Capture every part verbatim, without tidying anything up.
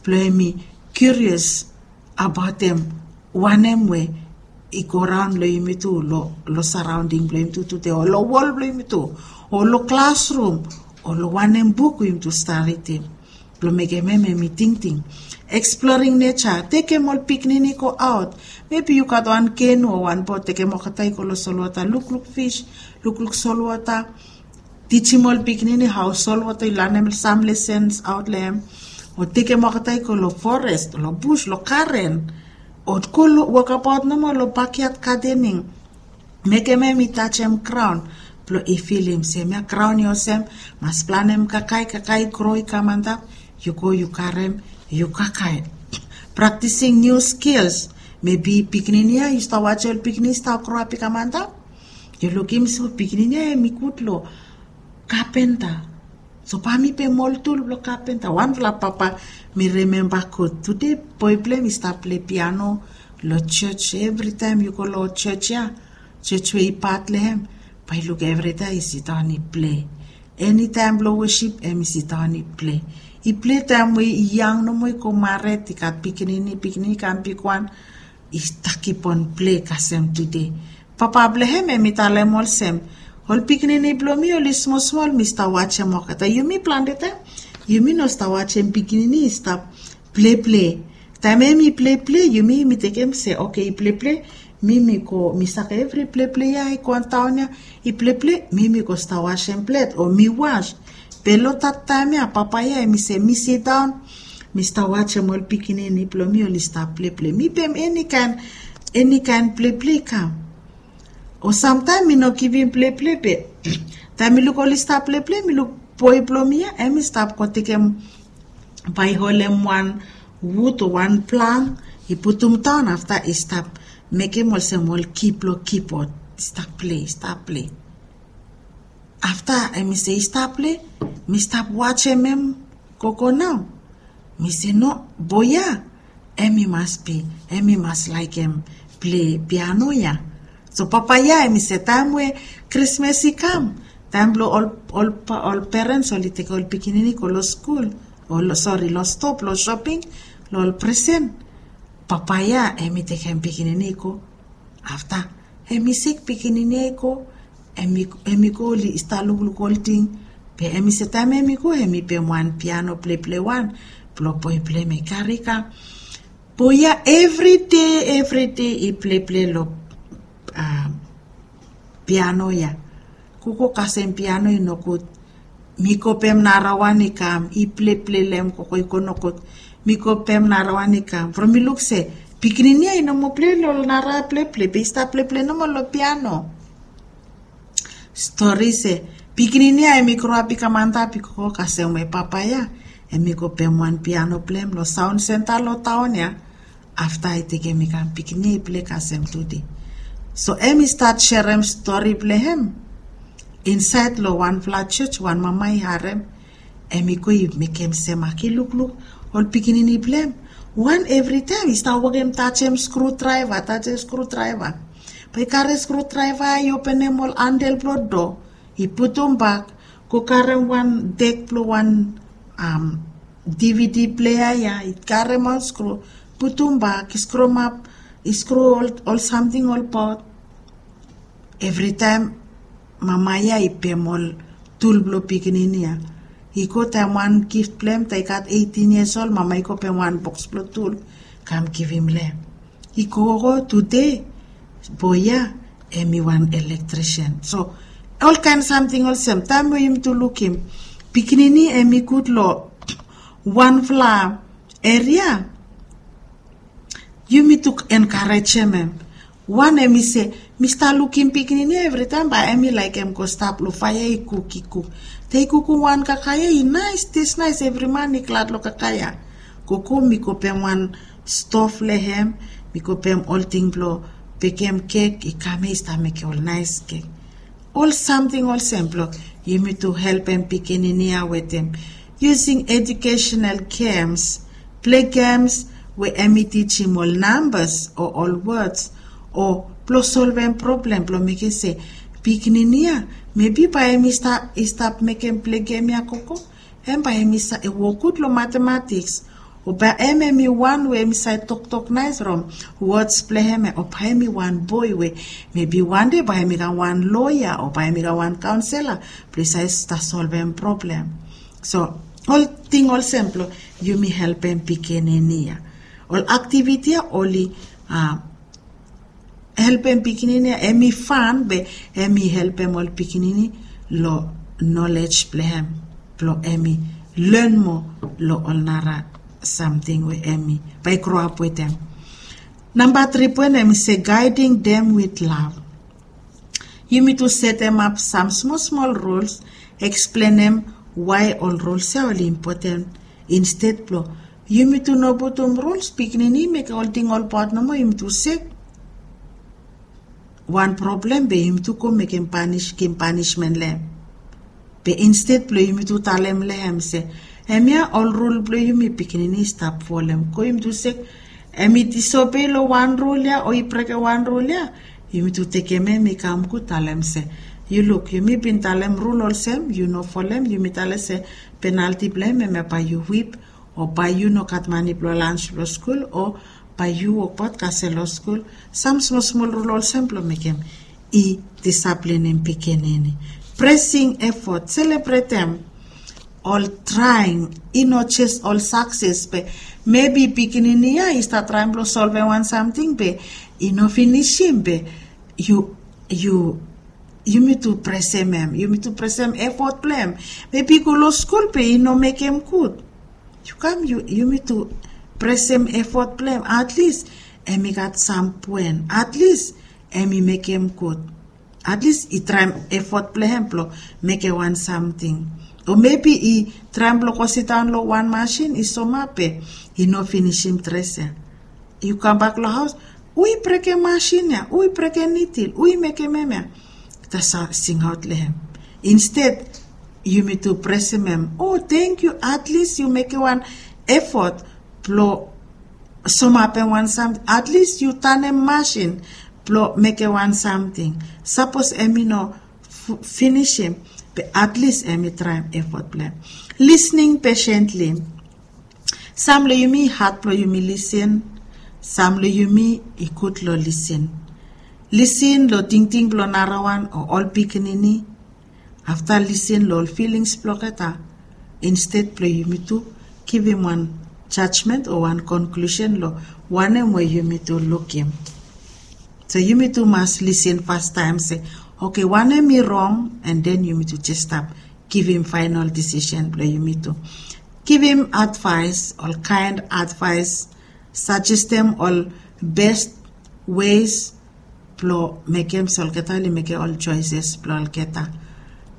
Blong em i curious abaot em wanem we i go raon long yumi tu, long saraonding blong yumi tu tude, o long wol blong yumi tu, o long klasrum, o long wanem buk we yumi tu stap ridim. Blong mekem em em i tingting. Exploring nature, tekem ol pikinini go aot. Mebi yu gat wan kenu o wan bot, tekem olgeta i go long solwota, lukluk fis, lukluk solwota. Tijim ol pikinini hao solwota i lanem sam lesens aot long em. O tekem olgeta i go long forest, long bus, long garen. O go long wokabaot nomo long bakiat gadening. Mekem em i tajem graon blong i filim se mia graon i olsem, mas planem kakae, kakae i gro i kam antap, yu go yu karem, yu kakae. Praktising niu skils. Mebi pikinini ya yu stap wajem ol pikinini stap groap i kam antap. Yu lukim se ol pikinini ya em i gud long kapenta. So bae mi pem ol tul blong kapenta. Wanfala papa mi rimemba gud tude, boe blong em i stap plei piano long jos. Evritaem yu go long jos ya, jos we i pat long em, bae yu luk evritaem i sidaon i plei. Enitaem blong wosip em i sidaon i plei. I plei taem we i yang nomo i go mared, i gat pikinini, pikinini i kam bigwan, i stap kipon plei kasem tude. Papa blong em em i talem olsem, ol pikinini blong mi oli smosmol mi stap wajem olgeta. Yumi plante taem yumi no stap wajem pikinini i stap pleple. Taem em i pleple yumi mi tekem se oke i pleple, mi mi go mi saka evri pleple ya i go antaon ya, i pleple mi mi go stap wajem plet o mi was. Be long dat taem ya papa ya em i se mi sidaon, mi stap wajem ol pikinini blong mi oli stap pleple. Mi pem eni kaen, eni kaen pleple i kam. O samtaem mi no givim pleple be taem mi luk oli stap pleple mi luk boe blong mi ya em i stap go tekem, bae i holem wan wud o wan plang, i putum daon afta i stap mekem olsem ol ki blong kibod, i stap plei, i stap plei. Afta em i se i stap plei, mi stap wajem em gogo nao. Mi se no, boe ya em i mas bi, em i mas laekem plei piano ya. So papa ya em i se taem we Krismas i kam, taem blong ol, ol, ol perens oli tekem ol pikinini go long skul o long, sori, long stoa blong shoping long ol presen. Papa ya em i tekem pikinini i go. Afta em i sik pikinini ya i go, em i go oli stap lukluk ol ting. Be em i se taem em i go em i pem wan piano pleple wan blong boe blong em i kari i kam. Boe ya evride, evride i pleple long piano ya. Gogo kasem piano i nogud. Mi go pem narawan i kam i pleple long em gogo i go nogud. Mi go pem narawan i kam from mi luk se pikinini ya i no moa plei long nara pleple be i stap pleple nomo long piano. Stori se pikinini ya em i groap i kam antap i gogo kasem we papa ya em i go pem wan piano blong em long saon senta long taon ya. Afta i tekem i kam pikinini ya i plei kasem tude. So em i stat serem stori blong em insaed long wanfala jos, wan mama i harem. Em i go i mekem sem aki lukluk ol pikinini blong em. Wan evritaem i stap wokem tajem skrudraeva, tajem skrudraeva. Bae i kare skrudraeva i openem ol andel blong doa, i putum bak, go karem wan dek blong wan dvd plea ya, i karem ol skru, putum bak, i skrumap, i skru ol samting ol bot. Evritaem mama ya i pem ol tul blong pikinini ya. I go taem wan gif blong em taem i gat eitin yias ol, mama i go pem wan boks blong tul kam givim long em. I gogo tude boe ya em i wan elektrisian. So olkaen samting olsem taem we yumi tu lukim pikinini em i gud long wanfala eria, yumi tu enkarejem em. Wan em i se mi stap lukim pikinini ya evritaem bae em i laekem go stap long faea i kuk, i kuk. Taem i kukum wan kakae ya i naes, tes naes, evri man i glad long kakae ya. Gogo mi go pem wan stof long em, mi go pem olting blong bekem kek, i kam ya i stap mekem ol naes kek. Ol samting olsem blong yumi tu helpem pikinini ya wetem yusing ejukesenal gems, plei gems we em i tijim ol nambas o ol wods, o blong solvem problem blong mekem se pikinini ya mebi bae em i stap, i stap mekem plei gem ya gogo, em bae em i wok gud long matematiks. O bae hem hem i wan we hem i save toktok naes from wods blong hem ya, o bae hem i wan boe we mebi wan dei bae hem i kam wan loea o bae hem i kam wan kaonsela blong i save stap solvem problem. So ol ting olsem blong yumi helpem pikinini ya. Ol aktiviti ya oli a helpem pikinini ya hem i fan be hem i helpem ol pikinini long nolej blong hem blong hem i len moa long ol nara samting we hem i bae i groap wetem. Namba tri poen hem i se gaeding dem wit lav. Yumi tu setemap sam smol smol ruls eksplenem wae ol ruls ya oli impoten. Insted blong yumi tu no putum ruls pikinini mekem ol ting ol baot nomo yumi tu sek wan problem be yumi tu go mekem panis givim panismen long hem. Be insted blong yumi tu talem long hem se hemia ol rul blong yumi pikinini i stap folem go yumi tu sek hem i disobei long wan rul ya o i brekem wan rul ya. Yumi tu tekem hem i kam gud talem se yu luk yumi bin talem rul olsem yu no folem yumi talem se penalti blong hem hemia bae yu wip o bae yu no gat mane blong lans blong skul o bae yu wokbaot kasem long skul. Sam smosmol rul olsem blong mekem i disaplinim pikinini. Presing efot selebretem ol traing i no jes ol sakses be mebi pikinini ya i stap traim blong solvem wan samting be i no finisim be yu yu yumi tu presem hem yumi tu presem efot blong hem. Mebi i go long skul be i no mekem gud. Yu kam yu yumi tu presem efot blong hem atlis hem i gat sam puen atlis hem i mekem gud. Atlis i traim efot blong hem blong mekem wan samting o mebi i traim blong go sidaon long wan masin i somap be i no finisim dres ya. Yu kambak long haos ui brekem masin ya ui brekem nitil ui mekem hem ya. Tasol singaot long hem insted yumi tu presem hem o tengkiu atlis yu mekem wan efot blong somapem wan samting atlis yu tanem masin blong mekem wan samting. Sapos hem i no finisim be atlis hem i traim efot blong hem. Lisning pesentli sam long yumi hat blong yumi lisin. Sam long yumi i gud long lisin lisin long tingting blong narawan o ol pikinini. Afta lisin long ol filings blong olgeta insted blong yumi tu givim wan jajmen o wan konklusen long wanem we yumi tu lukim. So yumi tu mas lisin fastaem se oke wanem i rong en den yumi tu jes stap givim faenol disisen blong yumi tu givim advaes ol kaen advaes sajestem ol bes wes blong mekem se olgeta oli mekem ol joeses blong olgeta.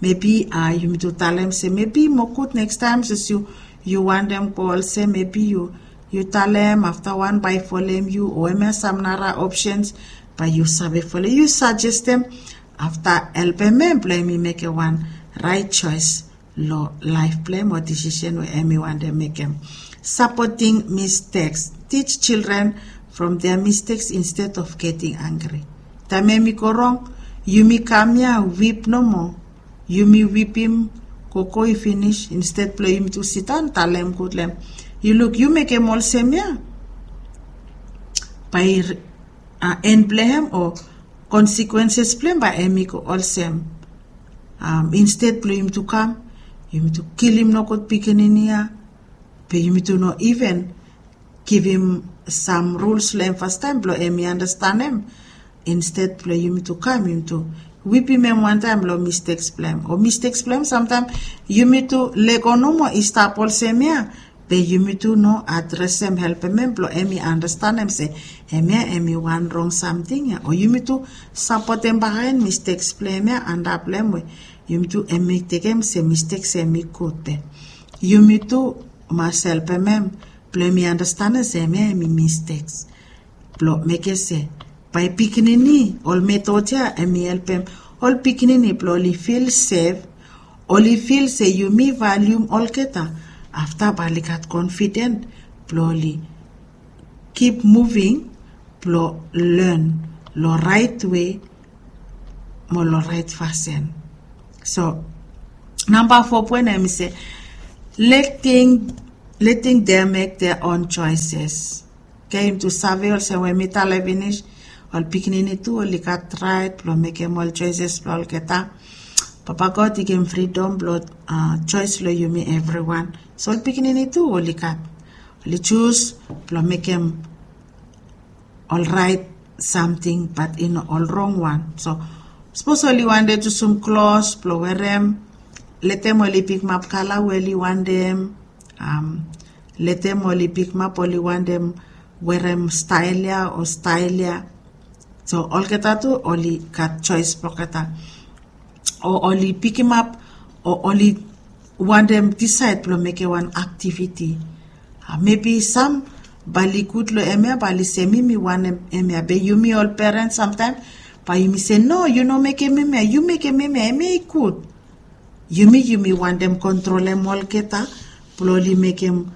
Mebi a yumi tu talem se mebi i moa gud nekstaem sos yu yu wantem go olsem mebi yu yu talem afta wan bae i folem yu o hemia sam nara opsens bae yu save folem yu sajestem afta helpem hem blong hem i mekem wan raet joes long laef blong hem o disisen we hem i wantem mekem. Sapoting misteks tij jildren from dia misteks insted of geting angri. Taem hem i go rong yumi kam ya wip nomo yumi wipim gogo i finis insted blong yumi tu sidaon talem gud long hem yu luk yu mekem olsem ya bae i en blong hem o konsekwenses blong hem bae hem i go olsem. Insted blong yumi tu kam yumi tu kilim nogud pikinini ya be yumi tu no iven givim sam ruls long hem fastaem blong hem i anastanem. Insted blong yumi tu kam yumi tu wipim hem wantaem long misteks blong hem o misteks blong hem samtaem yumi tu lego nomo i stap olsem ya be yumi tu no adresem helpem hem blong hem i anastanem se hemia hem i wan rong samting ya o yumi tu sapotem bakaen misteks blong hem ya antap long hem we yumi tu hem i tekem se misteks hem i gud be yumi tu mas helpem hem blong hem i anastanem se hemia hem i misteks blong mekem se bae pikinini ol metod ya hem i helpem ol pikinini blong oli fil sef oli fil se yumi valium olgeta afta bae oli gat konfiden blong oli kip muving blong len long raet we mo long raet fasin. So namba fo poen hem i se letting letting them make their own choices. Oke, yumi tu save olsem we mi talem finis, ol pikinini tu oli gat rait blong mekem ol choices blong olgeta. Papa God i givim fridom blong, uh, choice long yumi evriwan. So ol pikinini tu oli gat, oli jus blong mekem ol rait samting, bat i no ol rong wan. So sapos oli wantem jusum klos blong werem, letem oli pikimap kala we oli wantem. Um, letem oli pikimap oli wantem werem stael ya o stael ya. So olgeta tu oli gat choice blong olgeta. O oli pikimap o oli wantem disaed blong mekem wan aktiviti. Ah, mebi sam bae oli gud long hemia, bae oli se mi mi wantem hemia. Be yumi ol peren samtaem bae yumi se, no, yu no mekem hemia, yu mekem hemia, hemia i gud. Yumi, yumi wantem kontrolem olgeta blong oli mekem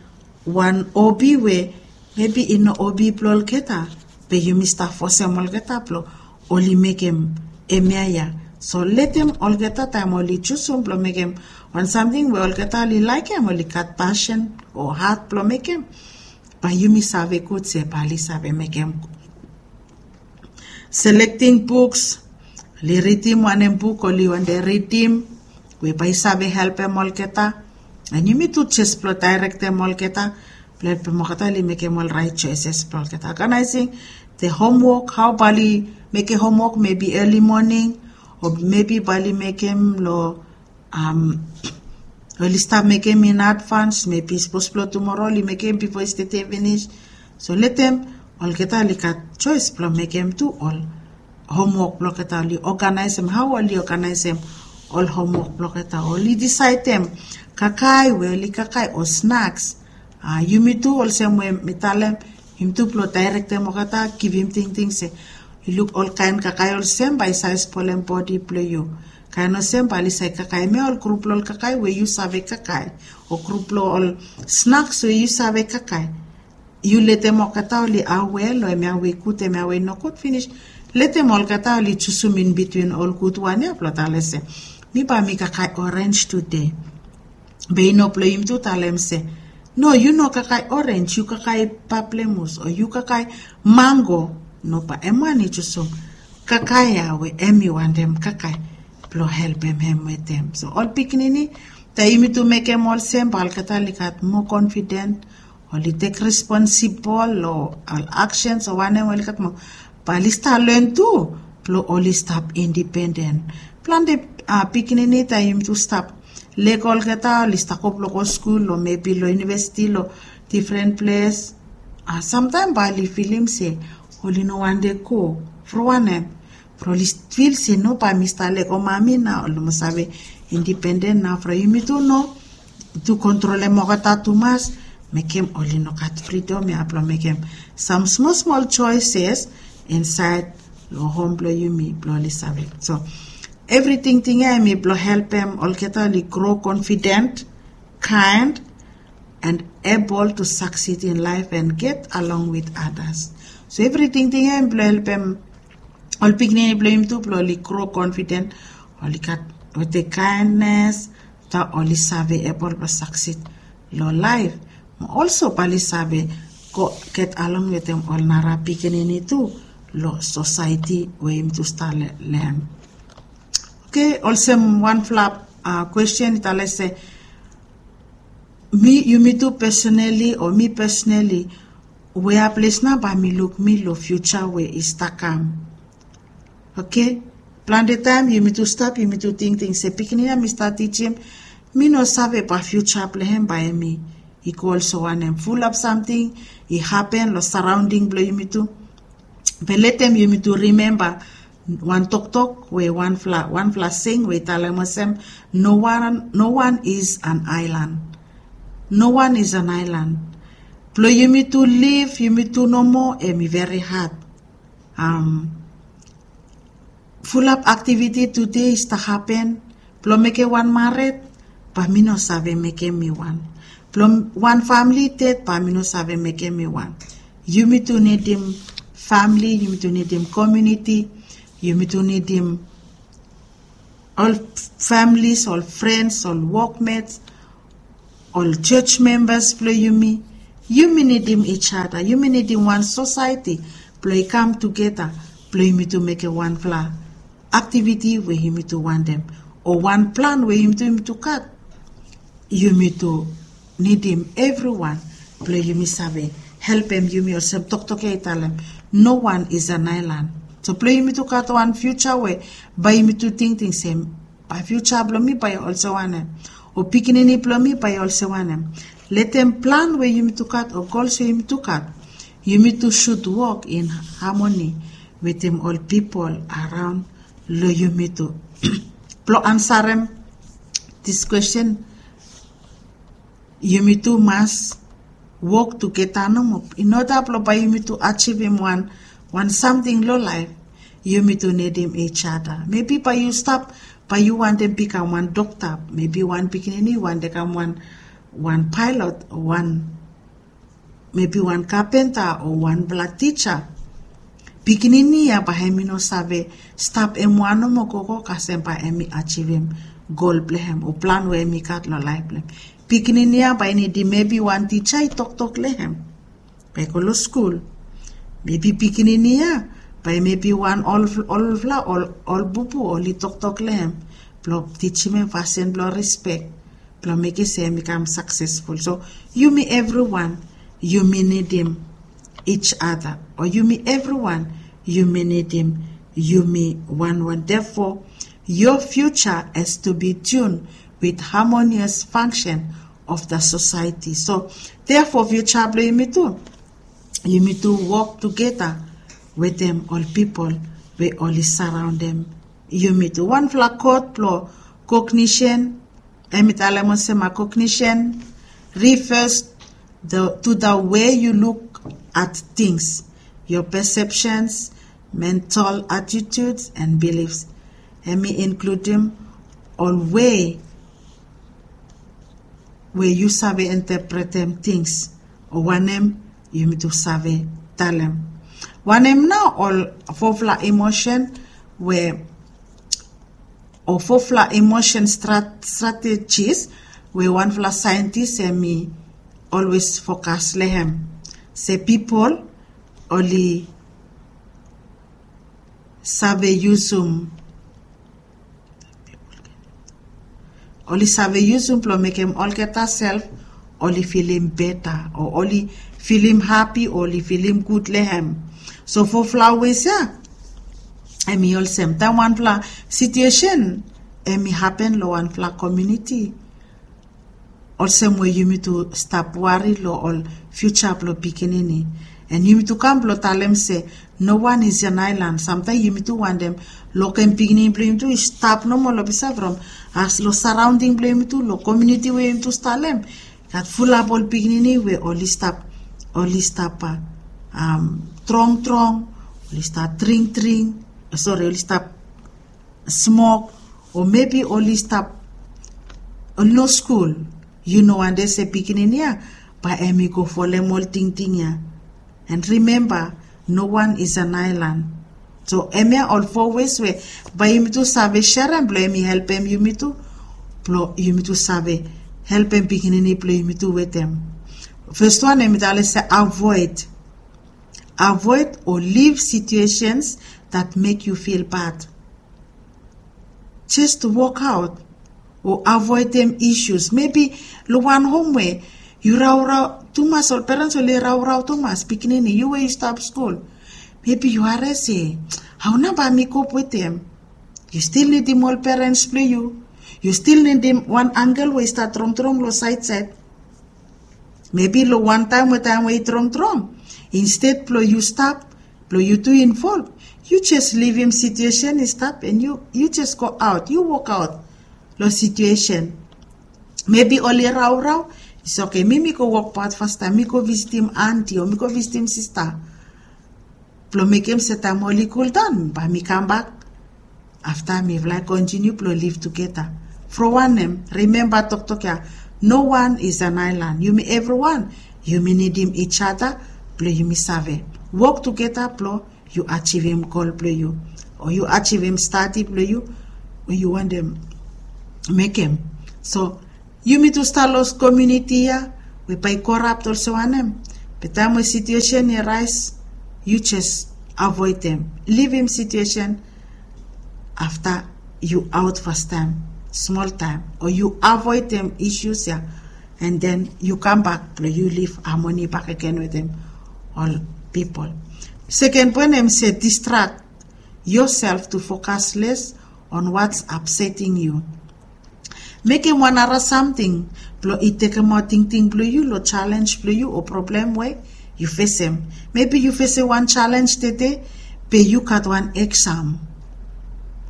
wan hobi we mebi i no hobi blong olgeta, be yumi stap fosem olgeta blong oli mekem hemia ya. So letem olgeta taem oli jusum blong mekem wan samting we olgeta oli laekem, oli gat pasen o hat blong mekem, bae yumi save gud se bae oli save mekem. Selecting books, oli ridim wanem buk oli wantem ridim, we bae i save helpem olgeta. And yumi tu jes blong daerektem olgeta blong helpem olgeta oli mekem ol rait choices blong olgeta. Organizing the homework, hao bae oli mekem homework, mebi early morning, o mebi bae oli mekem long, um, oli stap mekem in advance, mebi sapos blong tumoro oli mekem bifo i stete finis. So letem olgeta oli gat choice blong mekem tu ol homework blong olgeta, oli organizem hao oli organizem ol homework blong olgeta, oli disaedem kakae we oli kakae o snacks. Ah, yumi tu olsem we mi talem, yumi tu blong daerektem olgeta, givim tingting se, yu luk olkaen kakae olsem bae i save spolem bodi blong yu. Kaen olsem bae oli save kakae hemia ol grup blong ol kakae we yu save kakae, o grup blong ol snacks we yu save kakae. Yu letem olgeta oli aware long hemia we i gud, hemia we i nogud finis. Letem olgeta oli jusum in between ol gud wan ya blong talem se, mi bae mi kakae orange today. Be i no blong yumi tu talem se, no, yu no kakae orange, yu kakae paplemus, o yu kakae mango. No, bae hem wan i jusum kakae ya we hem i wantem kakae blong helpem hem wetem. So ol pikinini, taem yumi tu mekem olsem, bae olgeta oli gat moa confident, oli tek responsible long ol actions o wanem we oli gat moa, bae oli stap len tu blong oli stap independent. Plante, ah, pikinini taem yumi tu stap lego olgeta, oli stap go blong go skul o mebi long univesiti long difren ples. Ah, samtaem bae oli filim se oli no wantem go. From wanem? From oli fil se, no, bae mi stap lego mami nao, oli mas save independent nao. From yumi tu no tu kontrolem olgeta tumas, mekem oli no gat fridom ya blong mekem sam smol smol choices insaed long hom blong yumi blong oli save. So evri tingting ya hemi blong helpem olgeta oli grow confident, kind, and able to succeed in life and get along with others. So evri tingting ya hemi blong helpem ol pikinini blong yumi tu blong oli grow confident, oli gat wetem kindness, ta oli save able blong succeed long laef. Mo also bae oli save go get along wetem ol nara pikinini tu long society we yumi tu stap le-, lem. Oke, olsem wanfala, ah, kwestin i talem se, mi, yumi tu personally o mi personally, wea ples nao bae mi luk mi long future we i stap kam? Oke, plante taem yumi tu stap, yumi tu tingting se pikinini ya mi stap tijim, mi no save bae future blong hem bae hemi i go olsem wanem. Fulap samting i hapen long surrounding blong yumi tu. Be letem yumi tu rimemba wan toktok we wanfala, wanfala saying we i talem olsem, no one, no one is an island. No one is an island. Blong yumi tu liv, yumi tu nomo, hemi veri had. Um, fulap aktiviti tude i stap hapen, blong mekem wan mared, bae mi no save mekem mi wan. Blong wan famili ded, bae mi no save mekem mi wan. Yumi tu nidim famili, yumi tu nidim komuniti, yumi tu nidim ol families, ol friends, ol workmates, ol church members blong yumi. Yumi nidim each other, yumi nidim wan society blong i kam tugeta blong yumi tu mekem wanfala activity we yumi tu wantem, o wan plan we yumi tu yumi tu gat. Yumi tu nidim evriwan blong yumi save helpem yumi olsem toktok ya i talem, no one is an island. So blong yumi tu gat wan future we bae yumi tu tingting se bae future blong mi bae olsem wanem, o pikinini blong mi bae olsem wanem. Letem plan we yumi tu gat o gols we yumi tu gat, yumi tu should work in harmony wetem ol pipol araon long yumi tu. Blong ansarem this question, yumi tu mas wok tugeta nomo in order blong bae yumi tu achivim wan wan samting long laef. Yumi tu nidim each other. Mebi bae yu stap, bae yu wantem bikam wan dokta, mebi wan pikinini wantem kam wan wan paelot, wan mebi wan kapenta o wanfala tija. Pikinini ya bae hem i no save stap hem wan nomo gogo kasem bae hem i achivim gol blong hem o plan we hem i gat long laef blong hem. Pikinini ya bae i nidim mebi wan tija i toktok long hem bae i go long skul. Mebi pikinini ya bae mebi wan ol olfala ol ol bubu oli toktok long hem blong tijim hem fasin blong rispek blong mekem se hem i kam saksesful. So yumi evriwan yumi nidim each other, o yumi evriwan yumi nidim yumi wanwan. Therefore, your future has to be tuned with harmonious function of the society. So therefore future blong yumi tu, yumi tu wok tugeta wetem ol pipol we oli saraondem yumi tu. Wanfala kot blong cognition, hem i talem olsem a cognition refers the, to the way you look at things, your perceptions, mental attitudes and beliefs. Hem i inkludim ol wei we yu save interpretem tings o wanem yumi tu save talem. Wanem nao ol fofala emotion we o fofala emotion strategies we wanfala saentis hem i olwes fokas long hem se pipol oli save yusum oli save yusum blong mekem olgeta sel oli filim beta o oli filim hapi o oli filim gud long hem. So fofala wes ya hem i olsem taem wanfala situesen hem i hapen long wanfala komiuniti olsem we yumi tu stap wari long ol fiuja blong pikinini. An yumi tu kam blong talem se no wan is an aelan. Samtaem yumi tu wantem lokem pikinini blong yumi tu i stap nomo long pisa from as long saraonding blong yumi tu long komiuniti we yumi tu stalem gat fulap ol pikinini we oli stap oli stap trongtrong, oli stap dringdring, sori, oli stap smok o mebi oli stap oli no skul. Yu no wantem se pikinini ya bae hem i go folem ol tingting ya. An rimemba, no wan is an aelan. So hemia ol fo wes we bae yumi tu save serem blong hem i helpem yumi tu blong yumi tu save helpem pikinini blong yumi tu wetem. Fes wan hem i talem se avoid avoid o liv situesens dat mek yu fil bad. Jes wokaot o avoedem isus mebi long wan hom we yu raorao tumas ol perens oli raorao tumas pikinini yu we yu stap skul. Mebi yu hares ya hao nao bae mi kop wetem? Yu stil nidim ol perens blong yu. Yu stil nidim wan angel we i stap tromtrom long saedsaed. Mebi long wantaem we taem we i tromtrom, insted blong yu stap blong yu tu involv, yu jes livim situesen i stap an yu jes goaot yu wokaot long situesen. Mebi oli raorao, i se oke mi mi go wokbaot fastaem mi go visitim anti o mi go visitim sista blong mekem se taem oli kuldaon bae mi kambak. Afta mifala i kontiniu blong liv tugeta. From wanem, rimemba toktok ya, no wan is an aelan. Yumi evriwan yumi nidim ijada blong yumi save wok tugeta blong yu ajivim gol blong yu o yu ajivim stadi blong yu we yu wantem mekem. So Yumi tu stap long komuniti ya we bae i korap olsem wanem. Be taem we situesen i raes, yu jes avoedem, livim situesen. Afta yu aot fastaem, smol taem, o yu avoedem isus ya, and then yu kambak blong yu liv amoni bakegen wetem ol pipol. Seken poen hem se distract yourself to focus less on what's upsetting you. Mekem wan nara samting blong i tekemaot tingting blong yu long jalenj blong yu o problem we yu fesem. Mebi yu fesem wan jalenj tede, be yu gat wan eksam,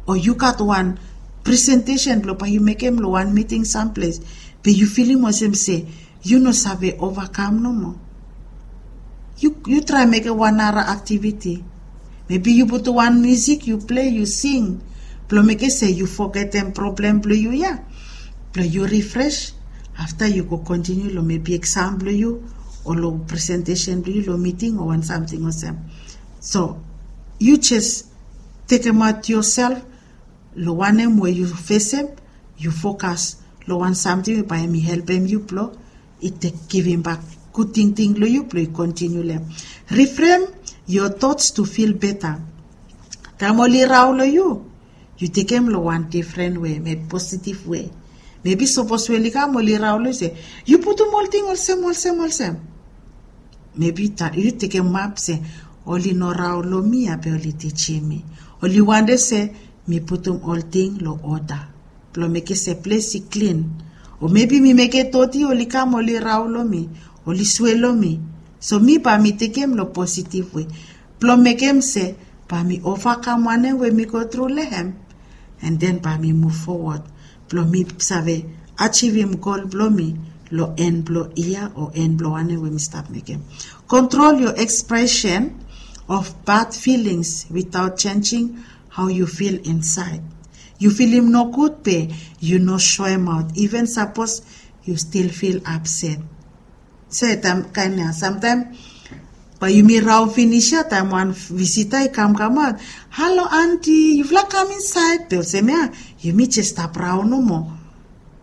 o yu gat wan presentesen blong bae yu mekem long wan miting samples, be yu filim olsem se yu no save ovakam nomo. Yu traem mekem wan nara aktiviti. Mebi yu putum wan musik, yu plei, yu sing, blong mekem se yu fogetem problem blong yu ya, blong yu rifres. Afta yu go kontiniu long mebi eksam blong yu, o long presentesen blong yu long miting o wan samting olsem. So yu jes tekemaot yoself long wanem we yu fesem, yu fokas long wan samting we bae hem i helpem yu blong i tek givimbak gud tingting long yu blong i kontiniu long hem. Reframe your thoughts to feel better. Taem oli rao long yu, yu tekem long wan difren we, mebi positiv we. Mebi sapos we oli kam oli rao long yu se, yu putum olting olsem olsem olsem. Mebi yu tekem ap se, oli no rao long mi ya be oli tijim mi. Oli wantem se mi putum olting long oda blong mekem se ples i klin. O mebi mi mekem doti, oli kam oli rao long mi, oli swe long mi. So mi bae mi tekem long positiv we blong mekem se bae mi ovakam wanem we mi go tru long hem. And then bae mi muv fowod blong mi save ajivim gol blong mi long en blong yia o en blong wanem we mi stap mekem. Control your expression of bad feelings without changing how you feel inside. Yu filim nogud be yu no soemaot, iven sapos yu stil fil apset. Se taem kaen ya samtaem bae yumi raon finis ya, taem wan visita i kamkam aot, "Halo anti, yufala kam insaed." Be olsem ya yumi jes stap raon nomo.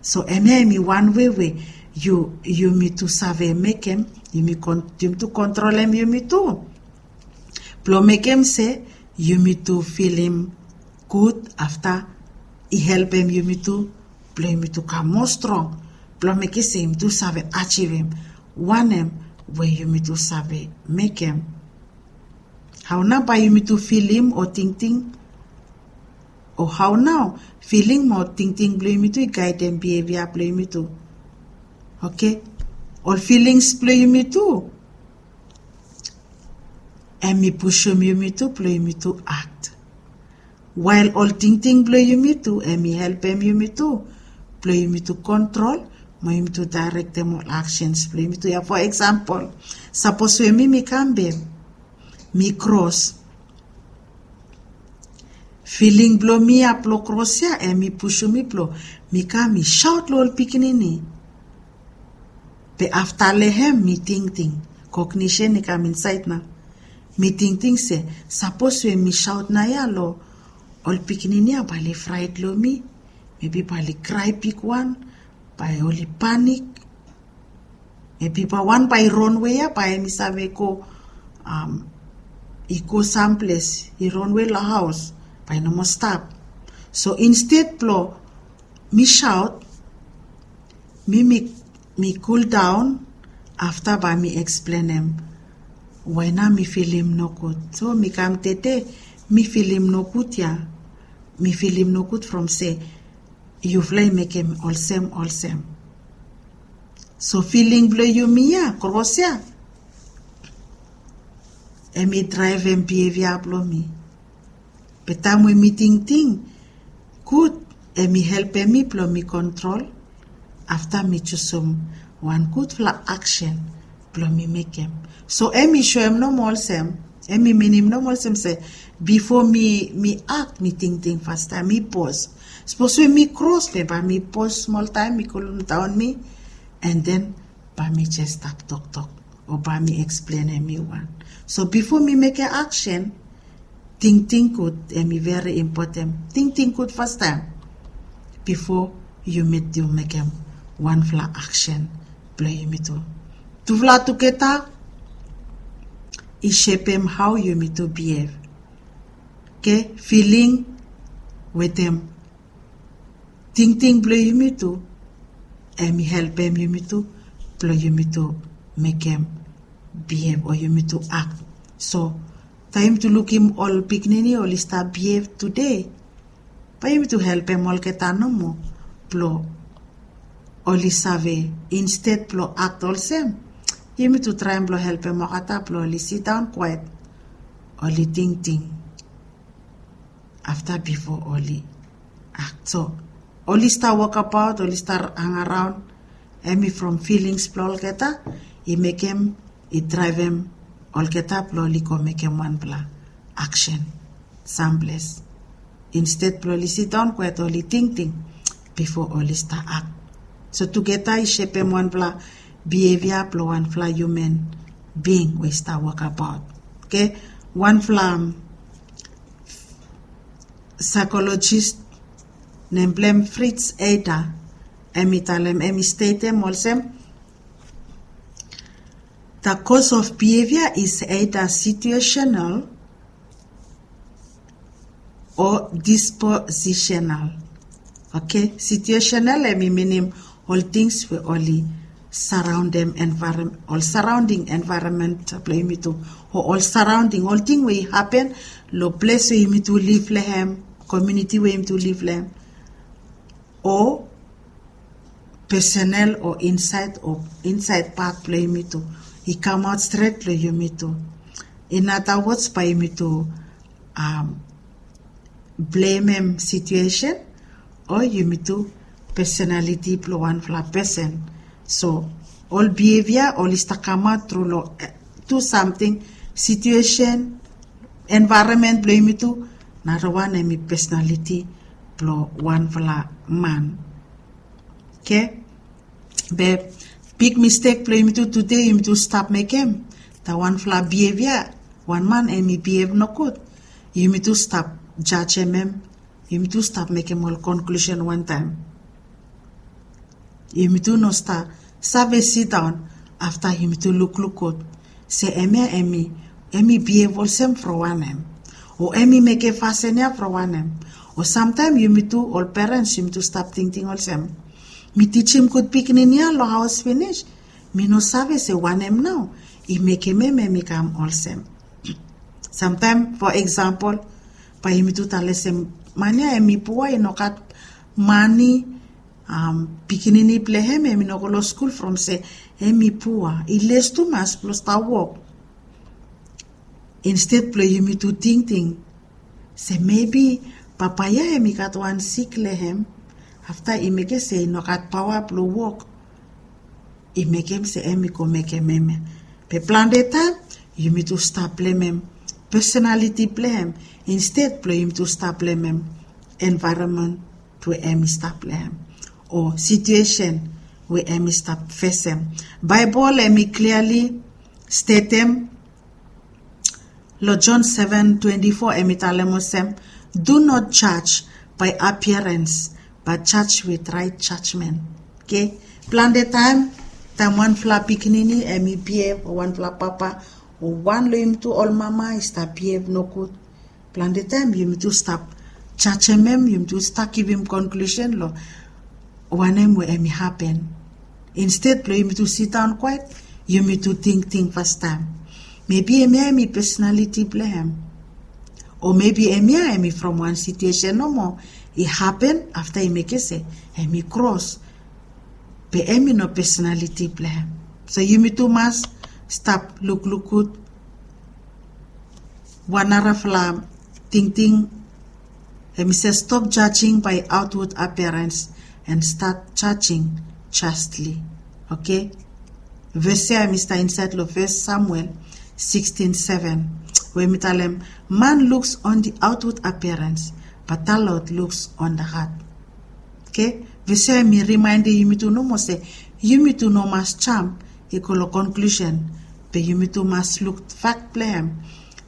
So hemia hemi wan wei we yumi tu save mekem, yumi tu kontrolem yumi tu blong mekem se yumi tu filim gud, afta i helpem yumi tu blong yumi tu kam moa strong blong mekem se yumi tu save ajivim wanem we yumi tu save mekem. Hao nao bae yumi tu filim o tingting, o hao nao filing mo tingting blong yumi tu i gaedem bihevia blong yumi tu? Oke, ol filings blong yumi tu hemi pusum yumi tu blong yumi tu akt, wael ol tingting blong yumi tu hemi helpem yumi tu blong yumi tu kontrol mo yumi tu daerektem ol aksens blong yumi tu ya. Fo eksampol, sapos we mi mi kam be mi kros, filing blong mi ya blong kros ya hemi pusum mi blong mi kam mi saot long ol pikinini. Be afta long hem mi tingting, kognisen i kam insaed nao. Mi tingting se sapos we mi saot naoia long ol pikinini ya bae oli fraet long mi. Mebi bae oli krae bigwan, bae oli panik. Mebi bae wan bae i ronwe ya bae hemi save go, i go samples, i ronwe long haos, bae i no moa stap. So insted blong mi saot, mi mi kuldaon, afta bae mi eksplenem wae nao mi filim nogud. So mi kam tede, mi filim nogud ya, mi filim nogud from se yufala i mekem olsem olsem. So filing blong yumi ya kros ya hemi draevem bihevia blong mi. Be taem we mi tingting gud, hemi helpem mi blong mi kontrol. Afta mi jusum wan gudfala aksen blong mi mekem. So hemi soem nomo olsem, hemi minim nomo olsem se bifo mi mi akt mi tingting fastaem, mi pos. Sapos we mi kros be bae mi pos smoltaem, mi kulumdaon mi, and then bae mi jes stap toktok o bae mi eksplenem mi wan. So bifo mi mekem aksen, tingting gud hemi veri impoten. Tingting gud fastaem bifo yu mekem wanfala aksen blong yumi tu. Tufala tugeta i sepem hao yumi tu bihev. Oke, filing wetem tingting blong yumi tu, em i helpem yumi tu blong yumi tu mekem bihev o yumi tu akt. So taem yumi tu lukim ol pikinini oli stap bihev tude, bae yumi tu helpem olgeta nomo blong oli save, insted blong akt olsem, yumi tu traem blong helpem olgeta blong oli sidaon kwaet, oli tingting afta bifo oli akt. So oli stap wokabaot, oli stap angaraon, em i from filings blong olgeta i mekem, i draevem olgeta blong oli go mekem wanfala aksen samples, insted blong oli sidaon kwaet, oli tingting bifo oli stap akt. So tugeta i sepem wanfala bihevia blong wanfala hiuman bing we i stap wokabaot. Oke, wanfala saikolojis nem blong hem Fritz Heider, em i talem, em i stetem olsem, the cause of behavior is either situational o dispositional. Oke, situational em i minim ol tings we oli saraondem envaerom, ol saraonding envaeromen blong yumi tu, o ol saraonding, ol ting we i hapen long ples we yumi tu liv long hem, komuniti we yumi tu liv long hem, o personal o insaed, o insaed pat blong yumi tu, i kamaot stret long yumi tu. In other words, bae yumi tu blemem situesen o yumi tu personaliti blong wanfala pesen. So ol bihevia oli stap kamaot tru long tu samting, situesen, envaeromen blong yumi tu, narawan em i personaliti blong wanfala man. Oke, be big mistek blong yumi tu tude, yumi tu stap mekem ta wanfala bihevia, wan man em i bihev nogud, yumi tu stap jajem hem, yumi tu stap mekem ol konklusen wantaem. Yumi tu no stap save sidaon afta yumi tu lukluk gud se hemia em i, em i bihev olsem from wanem, o em i mekem fasin ya from wanem. O samtaem yumi tu ol perens yumi tu stap tingting olsem, mi tijim gud pikinini ya long haos finis, mi no save se wanem nao i mekem hem em i kam olsem. Samtaem fo eksampol, bae yumi tu talem se man ya em i pua, i no gat mane, pikinini blong hem em i no go long skul from se em i pua, i les tumas blong stap wok. Insted blong yumi tu tingting se mebi papa ya em i gat wan sik long hem, afta i mekem se i no gat paoa blong wok, i mekem se em i go mekem hemia. Be plante taem yumi tu stap blemem personaliti blong hem, insted blong yumi tu stap blemem envaeromen we em i stap long hem o situesen we em i stap fesem. Baebol em i kliali stetem long John seven twenty-four, em i talem olsem, do not judge by appearance, but judge with right judgment. Oke, plante taem, taem wanfala pikinini em i bihev, o wanfala papa, o wan long yumi tu ol mama i stap bihev nogud, plante taem yumi tu stap jajem hem, yumi tu stap givim konklusen long wanem we em i hapen. Insted blong yumi tu sidaon kwaet, yumi tu tingting fastaem, mebi hemia em i personaliti blong hem, o mebi hemia em i from wan situesen nomo i hapen afta i mekem se em i kros, be em i no personaliti blong hem. So yumi tu mas stap lukluk gud. Wan narafala tingting, em i se stop judging by outward appearance and start judging justly. Oke, ves ya em i stap insaed long Fes Samuel sixteen seven, we em i talem, man looks on the outward appearance, but the Lord looks on the heart. Oke, ves ya em i rimaendem yumi tu nomo se yumi tu no mas jam i go long konklusen, be yumi tu mas luk fak blong hem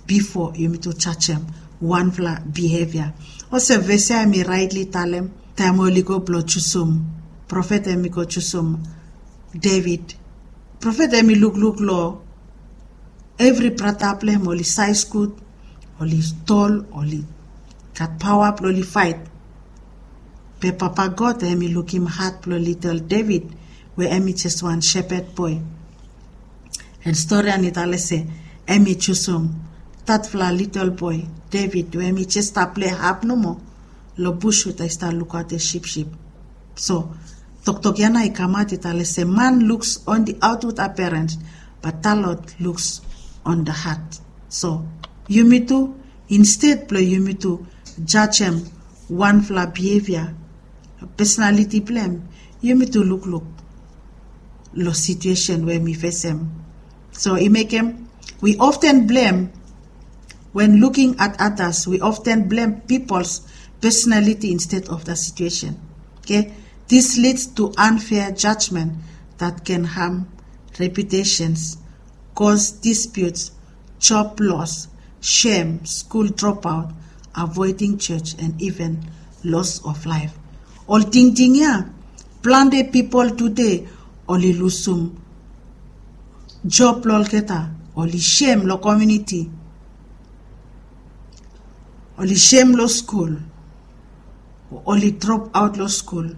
bifo yumi tu jajem wanfala bihevia. Olsem ves ya em i raetli talem taem oli go blong jusum Profet em i go jusum David. Profet em i lukluk long evri brata blong em, oli saes gud, oli tol, oli gat paoa blong oli faet. Be Papa God em i lukim hat blong litel David, we em i jes wan shepad boe. An stori ya i talem se em i jusum datfala litel boe David, we em i jes stap pilei hap nomo long bus, we i stap lukaotem sipsip. So toktok ya nao i kamaot, i talem se man looks on the outward appearance, but the Lord looks on the heart. So yumi tu, insted blong yumi tu jajem wanfala behavior, personality blong em, yumi tu lukluk long situation we mi fesem. So i mekem we often blame, when looking at others, we often blame people's personality instead of the situation. Okay? This leads to unfair judgment that can harm reputations, cause disputes, job loss, shame, school dropout, avoiding church, and even loss of life. Ol tingting ya, plante pipol tude oli lusum job blong olgeta, oli shem long komuniti, oli shem long skul, oli drop aot long skul,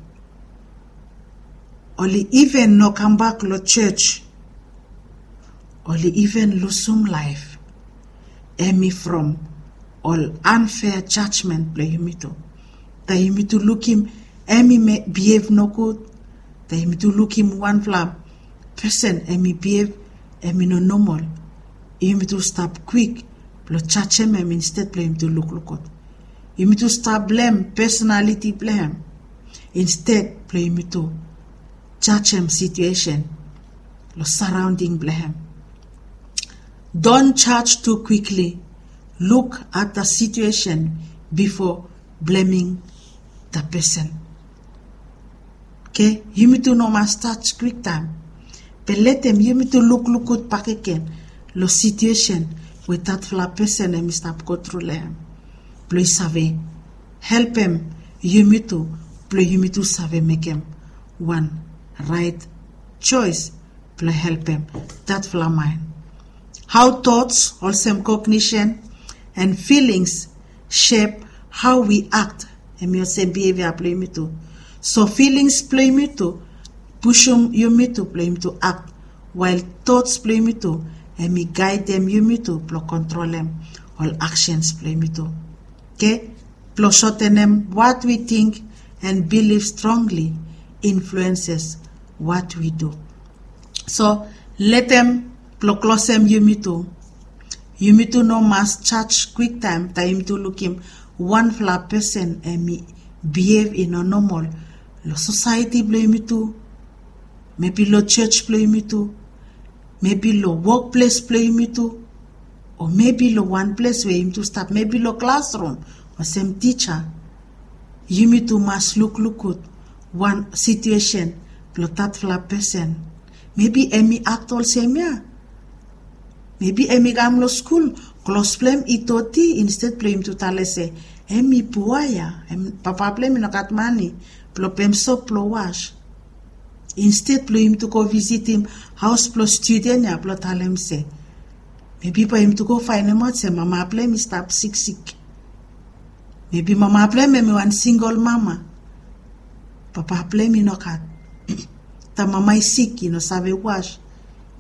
oli iven no kambak long church, oli iven lusum laef. Em i from ol unfair judgment blong yumi tu. Taem yumi tu lukim em i bihev nogud, taem yumi tu lukim wanfala pesen em i bihev em i no nomol, yumi tu stap kwik blong jajem em insted blong yumi tu lukluk gud. Yumi tu stap blem personaliti blong em insted blong yumi tu jajem situesen long saraonding blong em. Don't judge too quickly. Look at the situation before blaming the person. Okay, yumi tu no mas judge kwiktaem, be letem yumi tu lukluk gud bakegen long situesen we datfala pesen em i stap go tru long em, blong i save helpem yumi tu, blong yumi tu save mekem wan raet joes blong helpem datfala man. How thoughts, olsem cognition, and feelings shape how we act, em i olsem behavior blong yumi tu. So feelings blong yumi tu pushum yumi tu blong yumi tu act, while thoughts blong yumi tu em i gaedem yumi tu blong kontrolem ol actions blong yumi tu. Okay? Blong sotenem, what we think and believe strongly influences what we do. So letem blong klosem yumi tu, yumi tu no mas judge kwiktaem taem yumi tu lukim wanfala pesen em i bihev i no nomol long sosaeti blong yumi tu, mebi long jos blong yumi tu, mebi long wokples blong yumi tu, o mebi long wan ples we yumi tu stap, mebi long klasrum olsem tija. Yumi tu mas lukluk gud wan situesen blong datfala pesen. Mebi em i act olsem ya, mebi em i kam long skul, klos blong em i doti, insted blong yumi tu talem se em i pua ya, papa blong em i no gat mane blong pem sop blong was. Insted blong yumi tu go visitim haos blong studen ya blong talem se mebi bae yumi tu go faenemaot se mama blong em i stap siksik. Mebi mama blong em em i wan singol mama, papa blong em i no gat. Taem mama i sik, i no save was,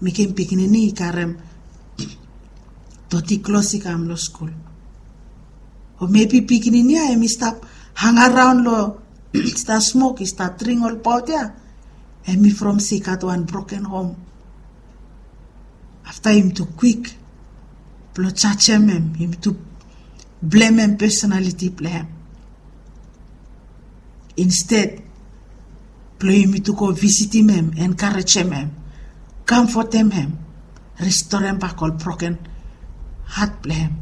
mekem pikinini i karem doti klos i kam long skul. O mebi pikinini ya em i stap hangaraon long, i stap smok, i stap dring ol paot ya, em i from se i gat wan broken hom. Afta yumi tu kwik blong jajem em, yumi tu blemem pesonaliti blong em, insted blong yumi tu go visitim em, enkarejem em, kamfotem em, ristorem bak ol broken hat blong em.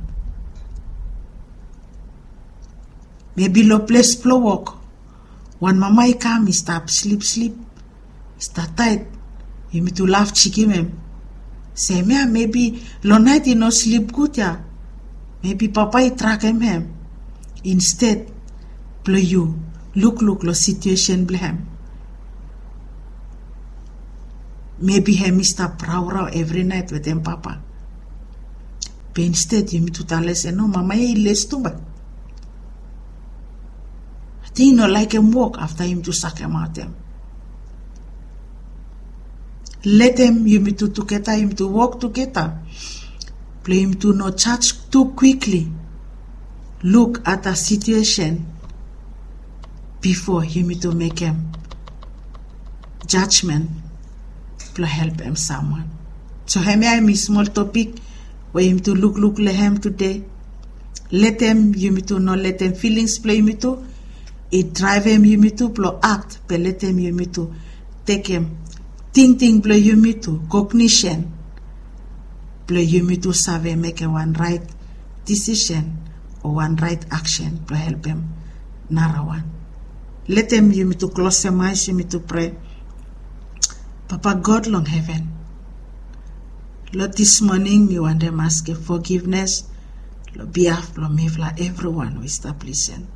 Mebi long ples blong wok, wan mama i kam i stap slipslip, i stap taet, yumi tu laf jikim em se em ya mebi long naet i no slip gud ya, mebi papa i drakem em. Insted blong yu lukluk long situesen blong em, Mebi hem i stap raorao evri naet wetem papa. Be insted yumi tu tale se no, mama ya i les tuba. Ating i no laekem wok afta yumi tu sakemaot hem. Letem yumi tu tugeta, yumi tu wok tugeta. Blong yumi tu no jaj tu kwikli. Luk at da situesen bifo yumi tu mekem jajmen blong helpem samwan. So hemia hem i smol topik we yumi tu lukluk long hem tude. Letem yumi tu no letem filings blong yumi tu i draevem yumi tu blong akt, be letem yumi tu tekem tingting blong yumi tu, kognisen blong yumi tu save mekem wan raet disisen o wan raet aksen blong helpem narawan. Letem yumi tu klosem aes, yumi tu prea. Papa God long heven, long dis moning mi wantem askem fogivnes long biaf blong mifala evriwan we i stap lisen,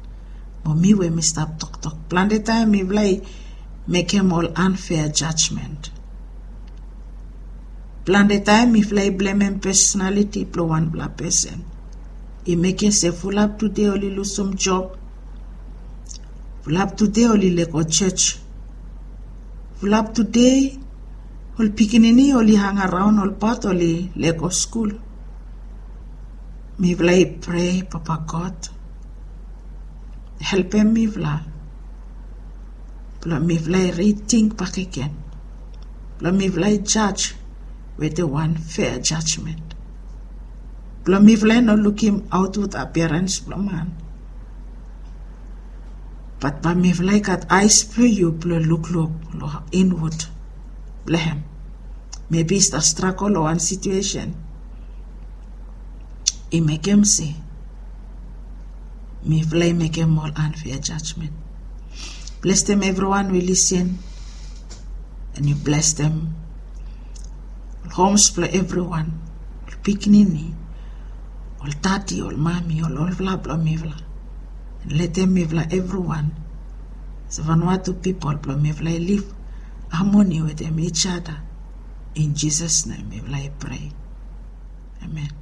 mo mi we mi stap toktok. Plante taem mifala i mekem ol anfea jajmen. Plante taem mifala i blemem pesonaliti blong wanfala pesen. I mekem se fulap tude oli lusum job. Fulap tude oli lego jos. Fulap tude ol pikinini oli hangaraon, ol pat oli lego skul. Mifala i prea, Papa God, helpem mifala blong mifala i riting bakegen, blong mifala i jaj wetem wan fea jajmen, blong mifala i no lukim aotwud apiarans blong man, bat bae mifala i gat aes blong yu blong lukluk long inwud blong hem. Mebi i stap stragol long wan situesen i mekem se mifala i mekem ol anfea jajmen. Blesem evriwan we i lisen, and yu blesem ol homs blong evriwan, ol pikinini, ol dadi, ol mami, ol olfala blong mifala. And letem mifala evriwan as Vanuatu pipol blong mifala i liv amoni wetem each other. In Jisas nem mifala i prea. Amen.